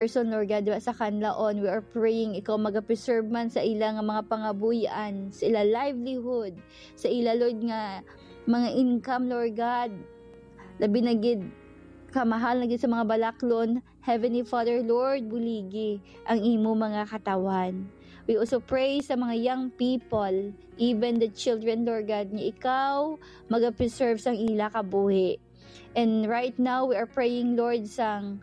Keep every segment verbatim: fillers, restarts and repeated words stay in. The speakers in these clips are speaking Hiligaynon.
person, Lord God, diba, sa Kanlaon. We are praying ikaw magapreserve man sa ila nga mga pangabuhian, sa ila livelihood, sa ila, Lord, nga mga income, Lord God. Labi na gid, kamahal na gid sa mga balaklon. Heavenly Father, Lord, buligi ang imo mga katawan. We also pray sa mga young people, even the children, Lord God, nga ikaw magapreserve sang ila kabuhi. And right now, we are praying, Lord, sang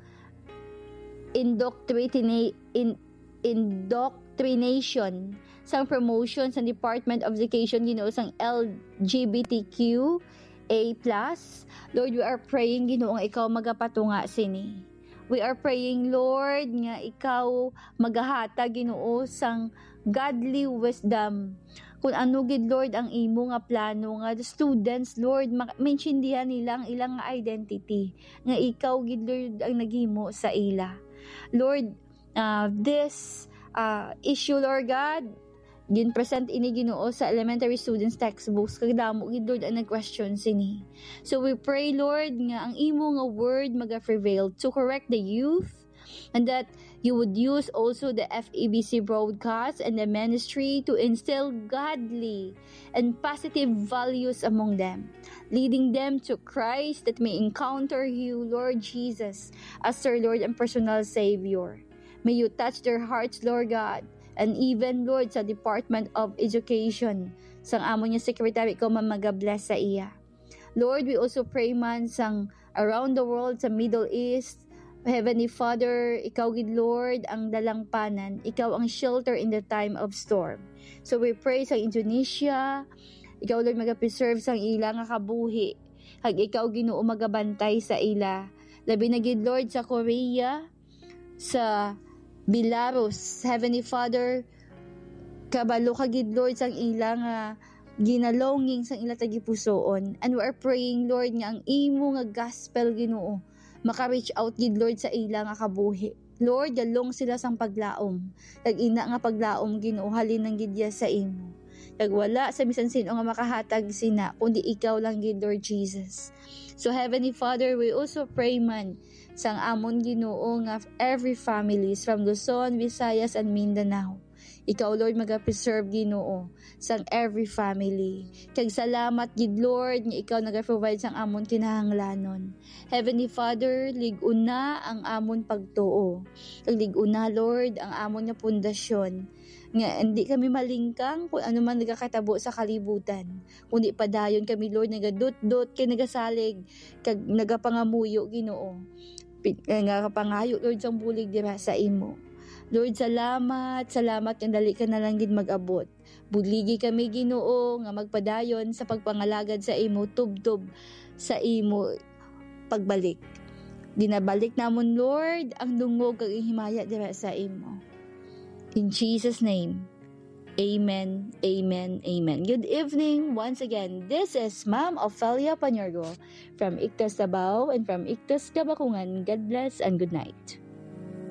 indoctrina-, in-, indoctrination, sang promotion sa Department of Education, Ginoo, sang L G B T Q A plus. Lord, we are praying, Ginoo, nga ikaw magapatunga sini. We are praying, Lord, nga ikaw magahatag, Ginoo, sang godly wisdom. Kung ano gid, Lord, ang imo nga plano nga the students, Lord, ma-, maintindihan nila ang ilang identity, nga ikaw gid, Lord, ang naghimo sa ila. Lord, uh, this uh, issue, Lord God, gin-present ini, Ginoo, sa elementary students textbooks, kag damo gid, Lord, ang nag-question sini. So we pray, Lord, nga ang imo nga word maga-prevail to correct the youth, and that you would use also the F E B C broadcast and the ministry to instill godly and positive values among them, leading them to Christ, that may encounter you, Lord Jesus, as their Lord and personal Savior. May you touch their hearts, Lord God, and even, Lord, sa Department of Education, sang amon nga secretary, ikaw man magabless sa iya. Lord, we also pray man sang around the world, sa Middle East. Heavenly Father, ikaw gid, Lord, ang dalangpanan. Ikaw ang shelter in the time of storm. So we pray sa Indonesia. Ikaw, Lord, magapreserve sang ila nga kabuhi. Kag ikaw, Ginoo, magabantay sa ila. Labi na gid, Lord, sa Korea, sa Belarus. Heavenly Father, kabalo ka gid, Lord, sang ila nga ginalonging sang ila tagipusoon. And we are praying, Lord, nga ang imo nga gospel, Ginoo, maka-reach out gid, Lord, sa ila nga kabuhi. Lord, galong sila sang paglaom. Kag ina nga paglaom, Ginoo, halin lang gid ya sa imo. Kag wala sa bisan sin-o nga makahatag sina, kundi ikaw lang gid, Lord Jesus. So, Heavenly Father, we also pray man sang amon, Ginoo, nga every families from Luzon, Visayas, and Mindanao. Ikaw, Lord, magapreserve, Ginoo, sang every family. Kag salamat gid, Lord, nga ikaw nagaprovide sang amon kinahanglanon. Heavenly Father, lig-una ang amon pagtuo. Kag lig-una, Lord, ang amon nga pundasyon. Nga hindi kami malingkang kung ano man nagakatabo sa kalibutan. Kundi padayon kami, Lord, nagadutdot kag nagasalig, kag nagapangamuyo, Ginoo. Pi-, nga kapangayo, Lord, sang bulig dira sa imo. Lord, salamat, salamat nga dali ka na lang gid mag-abot. Buligi kami, Ginoo, nga magpadayon sa pagpangalagad sa imo tubtob sa imo pagbalik. Ginabalik namon, Lord, ang dungog kag ang himaya dira sa imo. In Jesus' name, amen, amen, amen. Good evening. Once again, this is Ma'am Ofelia Paniorgo from Ictus Davao and from Ictus Kabakungan. God bless and good night.